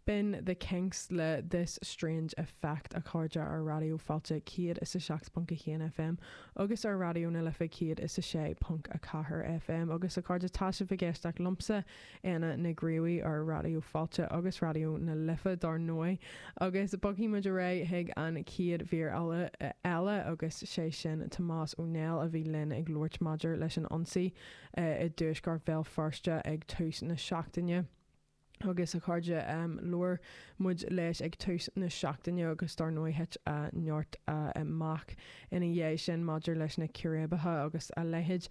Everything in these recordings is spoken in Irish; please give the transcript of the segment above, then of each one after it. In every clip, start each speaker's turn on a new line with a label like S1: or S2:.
S1: B'in The Kinks le This Strange Effect, a chairde, ar Raidió Fáilte 107.1 FM agus ar Raidió na Life 106.4 FM. Agus a chairde, tá sibh ag éisteacht liomsa, Éanna Ní Ghríobhaigh, ar Raidió Fáilte agus Raidió na Life, dar ndóigh. Agus bogfaidh muid ar aghaidh chuig an chéad mhír eile agus sé sin Tomás Ó Néill a bhí linn ag labhairt maidir leis an ionsaí i dtuaisceart Bhéal Feirste ag tús na seachtaine. Agus a chairde, labhair muid leis ag tús na seachtaine agus dar ndóigh thit neart amach ina dhiaidh sin maidir leis na círéibeacha agus a leithéid.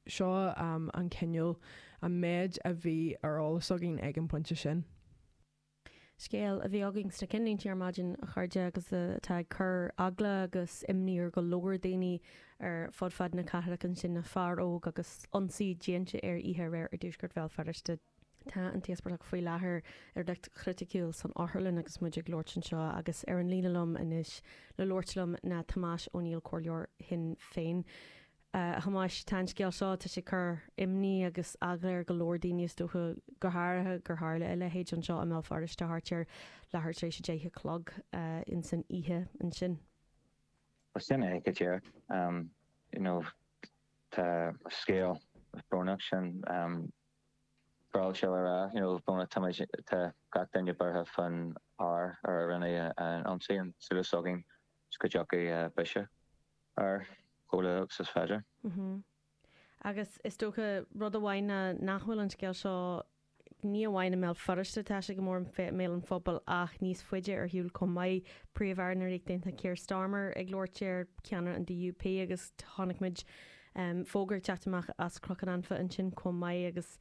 S1: Seo an cineál, an méid a bhí ar eolas againn ag an bpointe sin.
S2: Scéal a bhí againn sna cinnlínte ar maidin, a chairde, agus atá ag cur eagla agus imní ar go leor daoine ar fud fad na cathrach ansin, ná fear óg agus ionsaí déanta air oíche aréir i dtuaisceart Bhéal Feirste. Tá an t-íospartach faoi láthair i riocht chriticiúil san otharlann agus muid ag labhairt anseo agus ar an líne liom anois le labhairt liom ná Tomás Ó Néill, Comhairleoir Shinn Féin. A Thomáis, tá an scéal seo, tá sé ag cur imní agus eagla ar go leor daoine is dócha, go háirithe gur tharla a leithéid anseo i mBéal Feirste thart ar leathuair tar éis a 10 a chlog ins an oíche ansin.
S3: Bhuel sin é go díreach. You know tá scéal brónach sin bródúil a rá, you know brónach tá muid, tá gach duine buartha faoin fhear a rinne an ionsaí, an súil s'againn is go dtiocfaidh biseach air chomh luath agus is féidir.
S2: Agus is dócha rud amháin ná nach bhfuil an scéal seo, ní amháin i mBéal Feirste atá sé go mór i mbéal an phobail ach níos faide ar shiúl chomh maith. Príomh-Aire na Ríochta Aontaithe Keir Starmer ag labhairt air, ceannaire an DUP agus chonaic muid fógra ag teacht amach as Cnoc an Anfa ansin chomh maith agus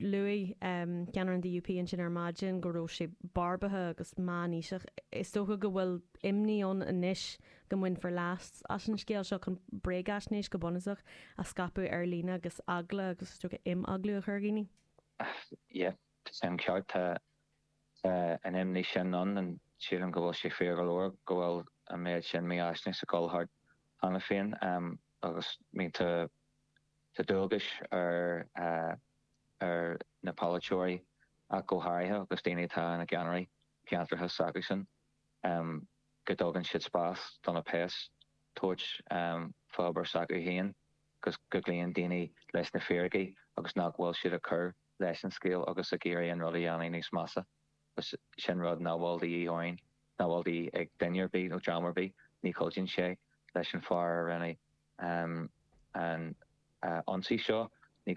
S2: luaigh ceannaire an DUP ansin ar maidin go raibh sé barbartha agus meánaoiseach. Is dócha go bhfuil imní ann anois go mbainfear leas as an scéal seo chun bréagaisnéis, go bunúsach, a scaipeadh ar líne agus eagla agus is dócha imeaglú a chur ar dhaoine.
S3: Yeah, tá sé an ceart. Tá an imní sin ann and sílim go bhfuil sé fíor go leor go bhfuil an méid sin mífhaisnéis ag dul thart cheana féin agus I mean tá tá dualgais ar ar na polaiteoirí ach go háirithe agus daoine atá ina gceannairí ceantracha s'acusan. go dtugann siad spás do na péas tabhairt fá obair s'acu féin agus go gcloíonn daoine leis na fíricí agus nach bhfuil siad ag cur leis an scéal agus ag iarraidh an rud a dhéanamh níos measa. Agus sin rud nach bhfuil de dhíth orainn, nach bhfuil de dhíth ag duine ar bith nó dream ar bith. Ní chuidíonn sé leis an fear a rinne an ionsaí seo.